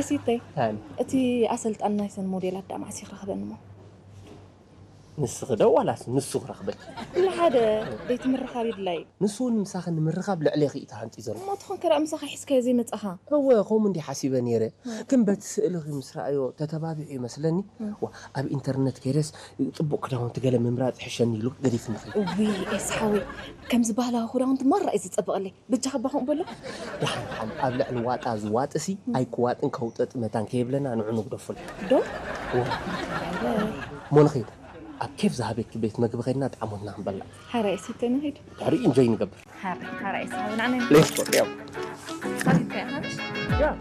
ኤሲተይ፣ ሃኒ፣ እቲ ኣሰልጣን ናይሰን ሞዴላት ዳ መዓስ ይኽረኽበኒ እሞ? ንስኺ ዶ ዋላስ ንሱ ክረኽበኪ? ኩሉ ሓደ። ደይቲ ምርኻብ ይድላይ። ንሱ እውን ምሳኺ ንምርኻብ ልዕሌኺ እዩ ተሃንጢ ዘሎ። እሞ ትኾን ከዳ ምሳኻ ሒዝካዮ ዘይመጻኻ? እወ፣ ከምኡ እንዲ ሓሲበ ነይረ። ግን በቲ ስእልኺ ምስ ረኣዮ ተተባቢዑ ይመስለኒ። ዋ፣ ኣብ ኢንተርነት ከይደስ ጽቡቕ ክዳውንቲ ገለ ምምራጽ ይሕሸኒ ኢሉ ገዲፍኒ ኸይዱ። እውይ ኤስ ሓወይ፣ ከምዚ ባህላዊ ክዳውንቲ ማራ እዩ ዝጸብቐለይ። በጃኻ እባ ከምኡ በሎ። ደሓን ደሓን ኣብ ልዕሊ ዋጣ ዝዋጥሲ ኣይክዋጥን ከውጠጥ መታን ከይብለና ንዑ ንግደፉል። ዶ? እሞ ንኸይድ ኣብ ኬፍ ዝሃበኪ ቤት መግቢ ኸይድና ጣዕሞትና ክንበልዕ። ሓራይ ሲተ ንኸይድ። ድሕሪ ኢንጆይ ንገብር። ሓራይ ሓራይ ሳብና ነን ሌትስ ጎ። ሳቢት ከያ ሓንሽ